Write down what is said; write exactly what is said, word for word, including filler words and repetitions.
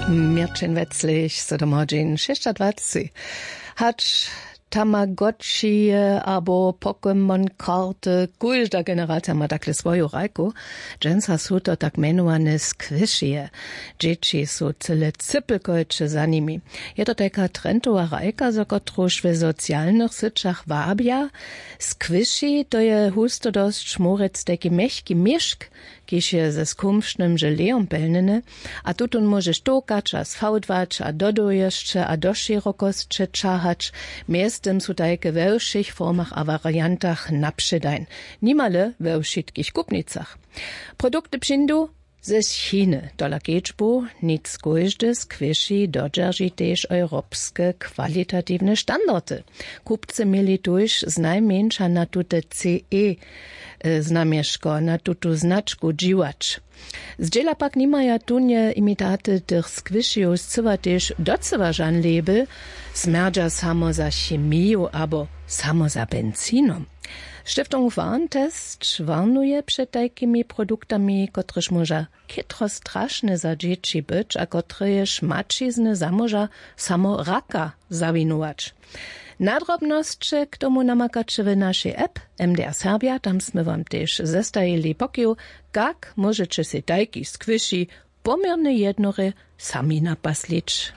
Měrćin weclich so domoho dźeń šěsćadwaceći. Hač tamagoćije abo pokemon karty, kóžda generacija ma takle swoju hrajku. Dźensa su to tak mjenowane squishije. Dźěći su cyle cypelkojće za nimi. Je to tajka trentowa hrajka, za kotruž w socialnych syćach wabja. Squishi to je husto dosć mórec tajki mjechki měšk, kiž je ze skumšnym želejom pelnjeny. A tutón móžeš tołkać a sfałdwać a do dołhosće a do šěrokosće ćahać. Mjeztym su tajke we wšěch formach a wariantach na předajn, nimale we wšitkich kupnicach. Produkty přińdu ze chiny. Tola kedźbu nic kóždy squishy dodźerži tež europske kwalitatiwne standardy. Kupcy měli tuž znajmjeńša na tute ce znamješko, na tutu značku dźiwać. Zdźěla pak nimaja tunje imitaty tych squishyjow scyła tež docyła žan label, smjerdźa samo za chemiju abo samo za benzinom. Stiftung warntest warnuje před tajkimi produktami, kotrež móža chytro strašne za dźěći być a kotrež maćizny zamóža samo raka zawinować. Nadrobnosće k tomu namakaće w našej app. M D R Serbja, tam smy wam tež zestajili pokiw, kak móžeće sej tajki squishy poměrnje jednore sami napaslić.